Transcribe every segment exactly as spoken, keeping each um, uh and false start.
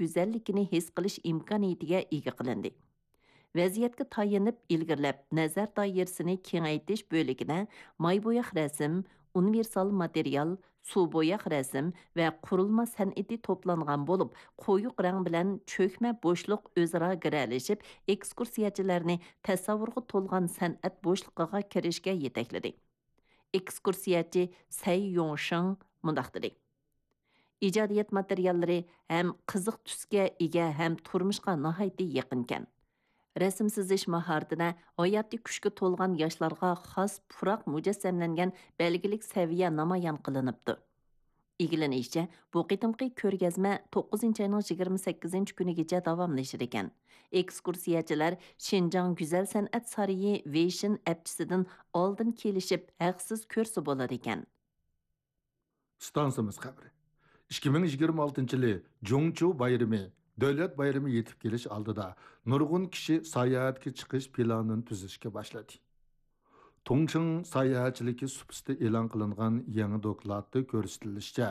گۈزەللىكىنى ھېس قىلىش ئىمكانىيىتىگە ئىگە قىلىندى. ۋەزىيەتكە تايىنىپ ئىلگىرىلەپ، نەزەر دائىرىسىنى كېڭەيتىش بۆلىكىدە ماي بوياق رەسىم، ئۇنىۋېرسال ماتېرىيال، سۇ بوياق رەسىم ۋە قۇرۇلما سەنئىتى توپلانغان بولۇپ، قويۇق رەڭ بىلەن چۆكمە بوشلۇق ئۆزئارا گىرەلىشىپ، ئېكسكۇرسىيەچىلەرنى تەسەۋۋۇرغا تولغان سەنئەت بوشلۇقىغا كىرىشكە يېتەكلىدى. ئېكسكۇرسىيەچى سەي يوڭشېڭ مۇنداق دېدى: ئىجادىيەت ماتېرىياللىرى ھەم قىزىق تۈسكە ئىگە ھەم تۇرمۇشقا ناھايىتى يېقىنكەن. رەسىم سىزىش ماھارىتىدە ھاياتىي كۈچكە تولغان ياشلارغا خاس پۇراق مۇجەسسەملەنگەن بەلگىلىك سەۋىيە نامايان قىلىنىپتۇ. ئىگىلىنىشىچە، بۇ قېتىمقى كۆرگەزمە توققۇزىنچى ئاينىڭ يىگىرمە سەككىزىنچى كۈنىگىچە داۋاملىشىدىكەن. ئېكسكۇرسىيەچىلەر شىنجاڭ گۈزەل سەنئەت سارىيى ۋېيشىن ئەپچىسىدىن ئالدىن كېلىشىپ ھەقسىز كۆرسە بولىدىكەن. ئىستانسىمىز خەۋىرى. ئىككى مىڭ يىگىرمە ئالتىنچى يىلى جۇڭچۇ بايرىمى، دۆلەت بايرىمى يېتىپ كېلىش ئالدىدا نۇرغۇن كىشى ساياھەتكە چىقىش پىلانىنى تۈزۈشكە باشلىدى. تۇڭچىڭ ساياھەتچىلىكى سۇپىسىدا ئېلان قىلىنغان يېڭى دوكلاتتا كۆرسىتىلىشىچە،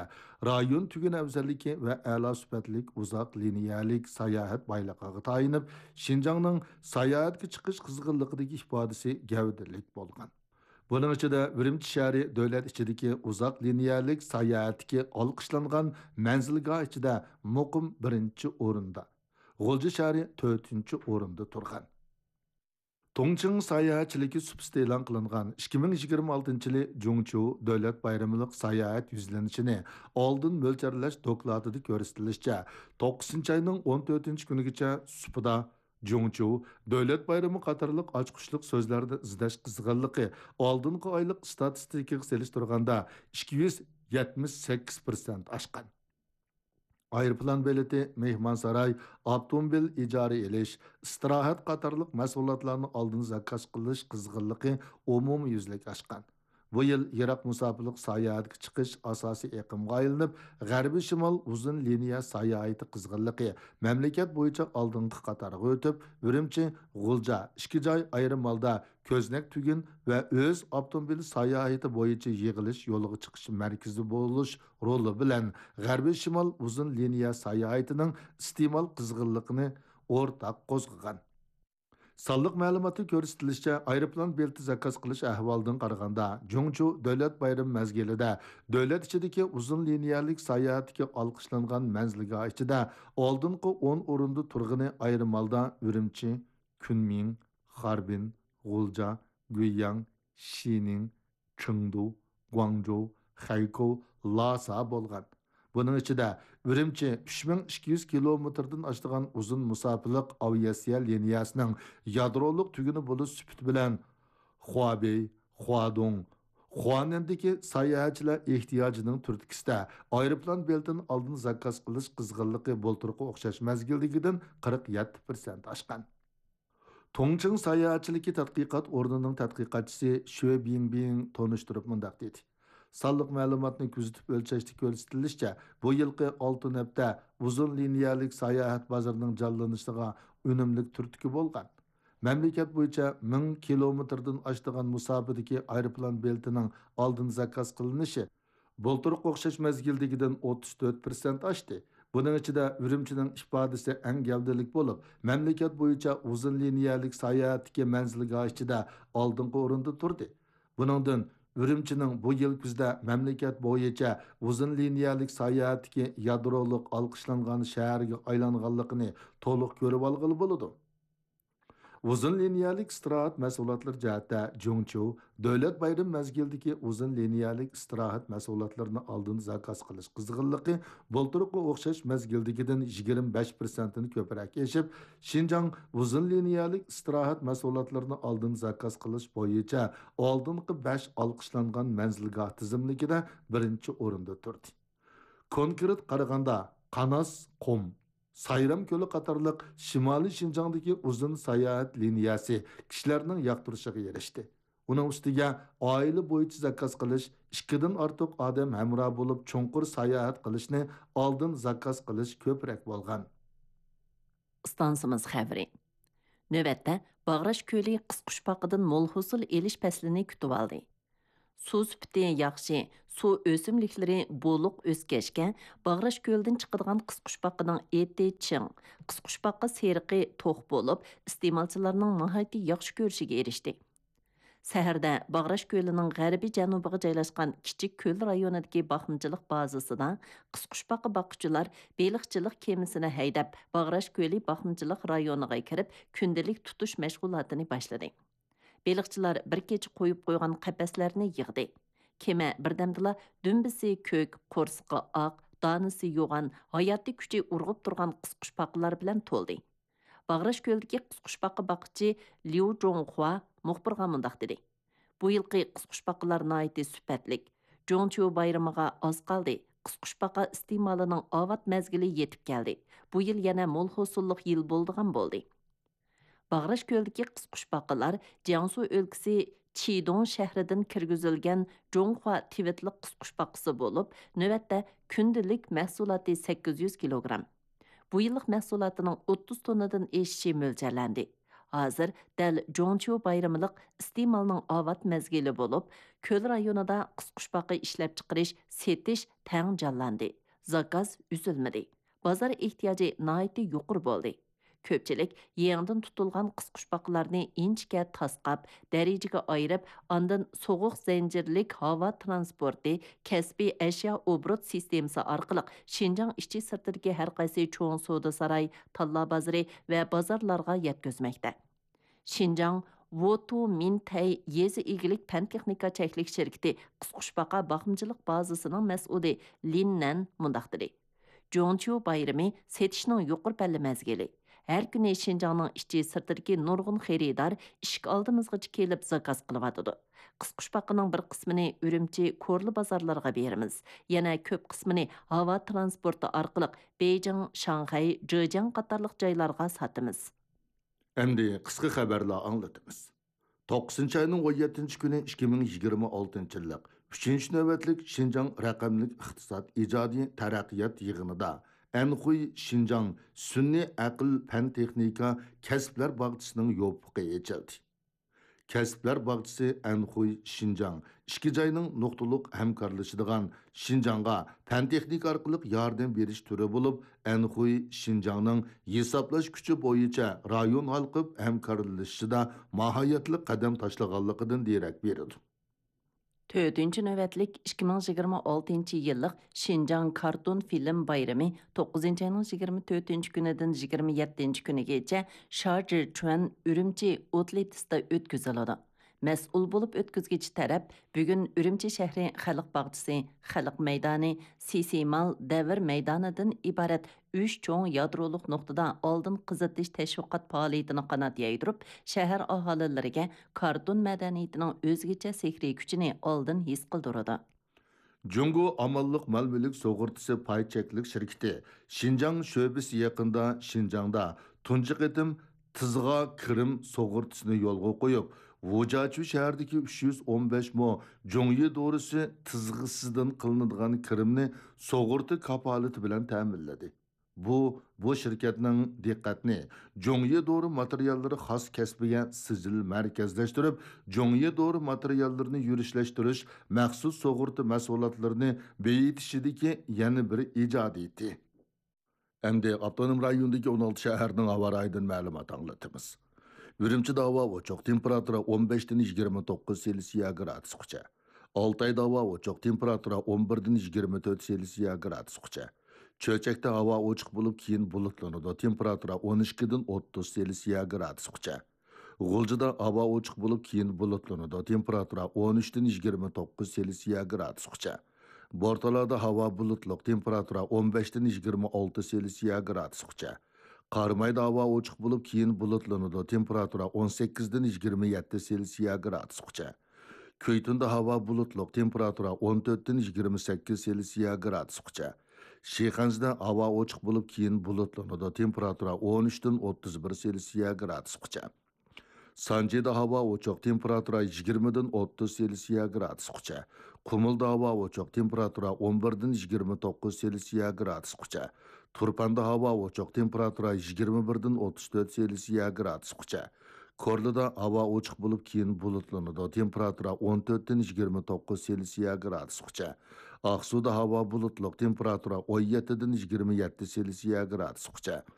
رايون تۈگۈن ئەۋزەللىكى ۋە ئەلا سۈپەتلىك ئۇزاق لىنىيەلىك ساياھەت بايلىقىغا تايىنىپ، شىنجاڭنىڭ ساياھەتكە چىقىش قىزغىنلىقىدىكى ئىپادىسى گەۋدىلىك بولغان. بۇنىڭ ئىچىدە ئۈرۈمچى شەھىرى دۆلەت ئىچىدىكى ئۇزاق لىنىيەلىك ساياھەتتىكى ئالقىشلانغان مەنزىلگاھ ئىچىدە مۇقىم بىرىنچى ئورۇندا، غۇلجا شەھىرى تۆتىنچى ئورۇندا تۇرغان. تۇڭچىڭ ساياھەتچىلىكى سۇپىسىدا ئېلان قىلىنغان ئىككى مىڭ يىگىرمە ئالتىنچى يىلى جۇڭچۇ دۆلەت بايرىملىق ساياھەت يۈزلىنىشىنى ئالدىن مۆلچەرلەش دوكلاتىدا كۆرسىتىلىشىچە، توققۇزىنچى ئاينىڭ ئون تۆتىنچى كۈنىگىچە سۇپىدا جۇڭچۇ دۆلەت بايرىمى قاتارلىق ئاچقۇچلۇق سۆزلەرنى ئىزدەش قىزغىنلىقى ئالدىنقى ئايلىق ئىستاتىستىكىغا سېلىشتۇرغاندا ئىككى يۈز يەتمىش سەككىز پىرسەنت ئاشقان. ئايروپىلان بېلىتى، مېھمانساراي، ئاپتوموبىل ئىجارە ئېلىش، ئىستىراھەت قاتارلىق مەھسۇلاتلارنى ئالدىن زاكاز قىلىش قىزغىنلىقى ئومۇميۈزلۈك ئاشقان. بۇ يىل يىراق مۇساپىلىق ساياھەتكە چىقىش ئاساسىي ئېقىمغا ئايلىنىپ، غەربىي شىمال ئۇزۇن لىنىيە ساياھىتى قىزغىنلىقى مەملىكەت بويىچە ئالدىنقى قاتارغا ئۆتۈپ، ئۈرۈمچى، غۇلجا، ئىككى جاي ئايرىم ھالدا كۆزنەك تۈگۈن ۋە ئۆز ئاپتوموبىل ساياھىتى بويىچە يىغىلىش يولىغا چىقىش مەركىزى بولۇش رولى بىلەن غەربىي شىمال ئۇزۇن لىنىيە ساياھىتىنىڭ ئىستېمال قىزغىنلىقىنى ئورتاق قوزغىغان. سانلىق مەلۇماتتا كۆرسىتىلىشىچە، ئايروپىلان بېلىتى زاكاز قىلىش ئەھۋالىدىن قارىغاندا، جۇڭچۇ دۆلەت بايرىمى مەزگىلىدە دۆلەت ئىچىدىكى ئۇزۇن لىنىيەلىك ساياھەتتىكى ئالقىشلانغان مەنزىلگاھ ئىچىدە ئالدىنقى ئون ئورۇندا تۇرغىنى ئايرىم ھالدا ئۈرۈمچى، كۈنمىڭ، خاربىن، غۇلجا، گۇيياڭ، شىنىڭ، چېڭدۇ، گۇاڭجۇ، خەيكوۋ، لاسا بولغان. بۇنىڭ ئىچىدە ئۈرۈمچى ئۈچ مىڭ ئىككى يۈز كىلومېتىردىن ئاشىدىغان ئۇزۇن مۇساپىلىق ئاۋىئاتسىيە لىنىيەسىنىڭ يادرولۇق تۈگۈنى بولۇش سۈپىتى بىلەن خۇابېي، خۇادۇڭ، خۇانەندىكى ساياھەتچىلەر ئېھتىياجىنىڭ تۈرتكىسىدە ئايروپىلان بېلىتىنى ئالدىن زاكاز قىلىش قىزغىنلىقى بۇلتۇرقى ئوخشاش مەزگىلدىكىدىن قىرىق يەتتە پىرسەنت ئاشقان. تۇڭچىڭ ساياھەتچىلىكى تەتقىقات ئورنىنىڭ تەتقىقاتچىسى شۆ بىڭبىڭ تونۇشتۇرۇپ مۇنداق دېدى: سانلىق مەلۇماتنى كۆزىتىپ ئۆلچەشتە كۆرسىتىلىشىچە، بۇ يىلقى ئالتە ھەپتە ئۇزۇن لىنىيەلىك ساياھەت بازىرىنىڭ جانلىنىشىغا ئۈنۈملۈك تۈرتكە بولغان. مەملىكەت بويىچە مىڭ كىلومېتىردىن ئاشىدىغان مۇساپىدىكى ئايروپىلان بېلىتىنىڭ ئالدىن زاكاز قىلىنىشى بۇلتۇرقى ئوخشاش مەزگىلدىكىدىن ئوتتۇز تۆت پىرسەنت ئاشتى. بۇنىڭ ئىچىدە ئۈرۈمچىنىڭ ئىپادىسى ئەڭ گەۋدىلىك بولۇپ، مەملىكەت بويىچە ئۇزۇن لىنىيەلىك ساياھەتتىكى مەنزىلگاھ ئىچىدە ئالدىنقى ئورۇندا تۇردى. بۇنىڭدىن ئۈرۈمچىنىڭ بۇ يىل كۈزدە مەملىكەت بويىچە ئۇزۇن لىنىيەلىك ساياھەتتىكى يادرولۇق ئالقىشلانغان شەھەرگە ئايلانغانلىقىنى تولۇق كۆرۈۋالغىلى بولىدۇ. ئۇزۇن لىنىيەلىك ئىستىراھەت مەھسۇلاتلىرى جەھەتتە جۇڭچۇ دۆلەت بايرىمى مەزگىلىدىكى ئۇزۇن لىنىيەلىك ئىستىراھەت مەھسۇلاتلىرىنى ئالدىن زاكاز قىلىش قىزغىنلىقى بۇلتۇرقى ئوخشاش مەزگىلدىكىدىن يىگىرمە بەش پىرسەنتتىن كۆپرەك ئېشىپ، شىنجاڭ ئۇزۇن لىنىيەلىك ئىستىراھەت مەھسۇلاتلىرىنى ئالدىن زاكاز قىلىش بويىچە ئالدىنقى بەش ئالقىشلانغان مەنزىلگاھ تىزىملىكىدە بىرىنچى ئورۇندا تۇردى. كونكرېت قارىغاندا، قاناس، قۇم، سايرام كۆلى قاتارلىق شىمالىي شىنجاڭدىكى ئۇزۇن ساياھەت لىنىيەسى كىشىلەرنىڭ ياقتۇرۇشىغا ئېرىشتى. ئۇنىڭ ئۈستىگە ئائىلە بويىچە زاكاز قىلىش، ئىككىدىن ئارتۇق ئادەم ھەمراھ بولۇپ چوڭقۇر ساياھەت قىلىشنى ئالدىن زاكاز قىلىش كۆپرەك بولغان. ئىستانسىمىز خەۋىرى. نۆۋەتتە باغراش كۆلى قىسقۇچپاقىدىن مول ھوسۇل ئېلىش پەسلىنى كۈتۈۋالدى. سۇ سۈپىتى ياخشى، سۇ ئۆسۈملۈكلىرى بولۇق ئۆسكەچكە، باغراش كۆلىدىن چىقىدىغان قىسقۇچپاقىنىڭ ئېتى چىڭ، قىسقۇچپاقا سېرىقى توق بولۇپ، ئىستېمالچىلارنىڭ ناھايىتى ياخشى كۆرۈشىگە ئېرىشتى. سەھەردە باغراش كۆلىنىڭ غەربىي جەنۇبىغا جايلاشقان كىچىك كۆل رايونىدىكى باقمىچىلىق بازىسىدا قىسقۇچپاقا باققۇچىلار بېلىقچىلىق كېمىسىنى ھەيدەپ، باغراش كۆلى باقمىچىلىق رايونىغا كىرىپ، كۈندىلىك تۇتۇش مەشغۇلاتىنى باشلىدى. بېلىقچىلار بىر كېچە قويۇپ قويغان قەپەسلەرنى يىغدى. كېمە بىردەمدىلا دۈمبىسى كۆك، قورسىقى ئاق، دانىسى يوغان، ھاياتىي كۈچى ئۇرغۇپ تۇرغان قىسقۇچپاقىلار بىلەن تولدى. باغراش كۆلىدىكى قىسقۇچپاقا باققۇچى ليۇ جۇڭخۇا مۇخبىرغا مۇنداق دېدى: «بۇ يىلقى قىسقۇچپاقىلار ناھايىتى سۈپەتلىك. جۇڭچيۇ بايرىمىغا ئاز قالدى. قىسقۇچپاقا ئىستېمالىنىڭ ئاۋات مەزگىلى يېتىپ كەلدى. بۇ يىل يەنە مول ھوسۇللۇق يىل بولىدىغان بولدى.» باغراش كۆلىدىكى قىسقۇچپاقىلار جياڭسۇ ئۆلكىسى چىدۇڭ شەھىرىدىن كىرگۈزۈلگەن جۇڭخۇا تىۋىتلىق قىسقۇچپاقىسى بولۇپ، نۆۋەتتە كۈندىلىك مەھسۇلاتى سەككىز يۈز كىلوگرام. بۇ يىللىق مەھسۇلاتىنىڭ ئوتتۇز توننىدىن ئېشىشى مۆلچەرلەندى. ھازىر دەل جۇڭچيۇ بايرىملىق ئىستېمالنىڭ ئاۋات مەزگىلى بولۇپ، كۆل رايونىدا قىسقۇچپاقا ئىشلەپچىقىرىش، سېتىش تەڭ جانلاندى. زاكاز ئۈزۈلمىدى. بازار ئېھتىياجى ناھايىتى يۇقىرى بولدى. كۆپچىلىك يېڭىدىن تۇتۇلغان قىسقۇچپاقىلارنى ئىنچىكە تاسقاپ، دەرىجىگە ئايرىپ، ئاندىن سوغۇق زەنجىرلىك ھاۋا ترانسپورتى، كەسپىي ئەشيا ئوبوروت سىستېمىسى ئارقىلىق شىنجاڭ ئىچى سىرتىدىكى ھەر قايسى چوڭ سودا ساراي، تاللا بازىرى ۋە بازارلارغا يەتكۈزمەكتە. شىنجاڭ ۋوتۇ مىنتەي يېزا ئىگىلىك پەن تېخنىكا چەكلىك شىركىتى قىسقۇچپاقا باقمىچىلىق بازىسىنىڭ مەسئۇلى لىن نەن مۇنداق دېدى: «جۇڭچيۇ بايرىمى سېتىشنىڭ يۇقىرى پەللە مەزگىلى. ھەر كۈنى شىنجاڭنىڭ ئىچى سىرتىدىكى نۇرغۇن خېرىدار ئىشىك ئالدىمىزغىچە كېلىپ زاكاز قىلىۋاتىدۇ. قىسقۇچپاقىنىڭ بىر قىسمىنى ئۈرۈمچى كورلا بازارلىرىغا بېرىمىز. يەنە كۆپ قىسمىنى ھاۋا ترانسپورتى ئارقىلىق بېيجىڭ، شاڭخەي، جېجياڭ قاتارلىق جايلارغا ساتىمىز.» ئەمدى قىسقا خەۋەرلەر ئاڭلىتىمىز. توققۇزىنچى ئاينىڭ ئون يەتتىنچى كۈنى ئىككى مىڭ يىگىرمە ئالتىنچى يىللىق ئۈچىنچى نۆۋەتلىك شىنجاڭ رەقەملىك ئىقتىساد ئىجادىي تەرەققىيات يىغىنىدا ئەنخۇي شىنجاڭ سۈنئىي ئەقىل پەن تېخنىكا كەسىپلەر باغچىسىنىڭ يوپۇقى ئېچىلدى. كەسىپلەر باغچىسى ئەنخۇي شىنجاڭ ئىككى جاينىڭ نۇقتىلىق ھەمكارلىشىدىغان شىنجاڭغا پەن تېخنىكا ئارقىلىق ياردەم بېرىش تۈرى بولۇپ، ئەنخۇي شىنجاڭنىڭ ھېسابلاش كۈچى بويىچە رايون ھالقىپ ھەمكارلىشىشىدا ماھىيەتلىك قەدەم تاشلىغانلىقىدىن دېرەك بېرىدۇ. تۆتىنچى نۆۋەتلىك ئىككى مىڭ يىگىرمە ئالتىنچى يىللىق شىنجاڭ كارتون فىلىم بايرىمى توققۇزىنچى ئاينىڭ يىگىرمە تۆتىنچى كۈنىدىن يىگىرمە يەتتىنچى كۈنىگىچە شارجى چۈەن ئۈرۈمچى ئوتلىتىستا ئۆتكۈزۈلىدۇ. مەسئۇل بولۇپ ئۆتكۈزگۈچى تەرەپ بۈگۈن ئۈرۈمچى شەھىرى خەلق باغچىسى، خەلق مەيدانى، سىسىمال دەۋر مەيدانىدىن ئىبارەت ئۈچ چوڭ يادرولۇق نۇقتىدا ئالدىن قىزىتىش تەشۋىقات پائالىيىتىنى قانات يايدۇرۇپ، شەھەر ئاھالىلىرىگە كارتون مەدەنىيىتىنىڭ ئۆزگىچە سېھرىي كۈچىنى ئالدىن ھېس قىلدۇرىدۇ. جۇڭگو ئامانلىق مال-مۈلۈك سۇغۇرتىسى پاي چەكلىك شىركىتى شىنجاڭ شۆبىسى يېقىندا شىنجاڭدا تۇنجى قېتىم تىزغا كىرىم سۇغۇرتىسىنى يولغا قويۇپ، ۋۇجاچۈ شەھىرىدىكى ئۈچ يۈز ئون بەش مو جۇڭيى دورىسى تىزغىسىدىن قىلىنىدىغان كىرىمنى سۇغۇرتا كاپالىتى بىلەن تەمىنلىدى. بۇ، بۇ شىركەتنىڭ دىققەتنى جۇڭيى دورا ماتېرىياللىرى خاس كەسپىگە سىجىل مەركەزلەشتۈرۈپ، جۇڭيى دورا ماتېرىياللىرىنى يۈرۈشلەشتۈرۈش مەخسۇس سۇغۇرتا مەھسۇلاتلىرىنى بېيىتىشىدىكى يەنە بىر ئىجادىيىتى. ئەمدى ئاپتونوم رايوندىكى ئون ئالتە شەھەرنىڭ ھاۋا رايىدىن مەلۇمات ئاڭلىتىمىز. ئۈرۈمچىدە ھاۋا ئوچۇق، تېمپېراتۇرا ئون بەشتىن يىگىرمە توققۇز سېلسىيە گرادۇسقىچە. ئالتايدا ھاۋا ئوچۇق، تېمپېراتۇرا ئون بىردىن يىگىرمە تۆت سېلسىيە گرادۇسقىچە. چۆچەكتە ھاۋا ئوچۇق بولۇپ، كېيىن بۇلۇتلىنىدۇ، تېمپېراتۇرا ئون ئىككىدىن ئوتتۇز سېلسىيە گرادۇسقىچە. غۇلجىدا ھاۋا ئوچۇق بولۇپ، كېيىن بۇلۇتلىنىدۇ، تېمپېراتۇرا ئون ئۈچتىن يىگىرمە توققۇز سېلسىيە گرادۇسقىچە. بورتالادا ھاۋا بۇلۇتلۇق، تېمپېراتۇرا ئون بەشتىن يىگىرمە ئالتە سېلسىيە گرادۇسقىچە. قارامايدا ھاۋا ئوچۇق بولۇپ، كېيىن بۇلۇتلىنىدۇ، تېمپېراتۇرا ئون سەككىزدىن يىگىرمە يەتتە سېلسىيە گرادۇسقىچە. كۈيتۇندە ھاۋا بۇلۇتلۇق، تېمپېراتۇرا ئون تۆتتىن يىگىرمە سەككىز سېلسىيە گرادۇسقىچە. شىخەنزىدە ھاۋا ئوچۇق بولۇپ، كېيىن بۇلۇتلىنىدۇ، تېمپېراتۇرا ئون ئۈچتىن ئوتتۇز بىر سېلسىيە گرادۇسقىچە. سانجىدا ھاۋا ئوچۇق، تېمپېراتۇرا يىگىرمىدىن ئوتتۇز سېلسىيە گرادۇسقىچە. قۇمۇلدا ھاۋا ئوچۇق، تېمپېراتۇرا ئون بىردىن يىگىرمە توققۇز سېلسىيە گرادۇسقىچە. تۇرپاندا ھاۋا ئوچۇق، تېمپېراتۇرا يىگىرمە بىردىن ئوتتۇز تۆت سېلسىيە گرادۇسقىچە. كورلىدا ھاۋا ئوچۇق بولۇپ، كېيىن بۇلۇتلىنىدۇ. تېمپېراتۇرا ئون تۆتتىن يىگىرمە توققۇز سېلسىيە گرادۇسقىچە. ئاقسۇدا ھاۋا بۇلۇتلۇق، تېمپېراتۇرا ئون يەتتىدىن يىگىرمە يەتتە سېلسىيە گرادۇسقىچە.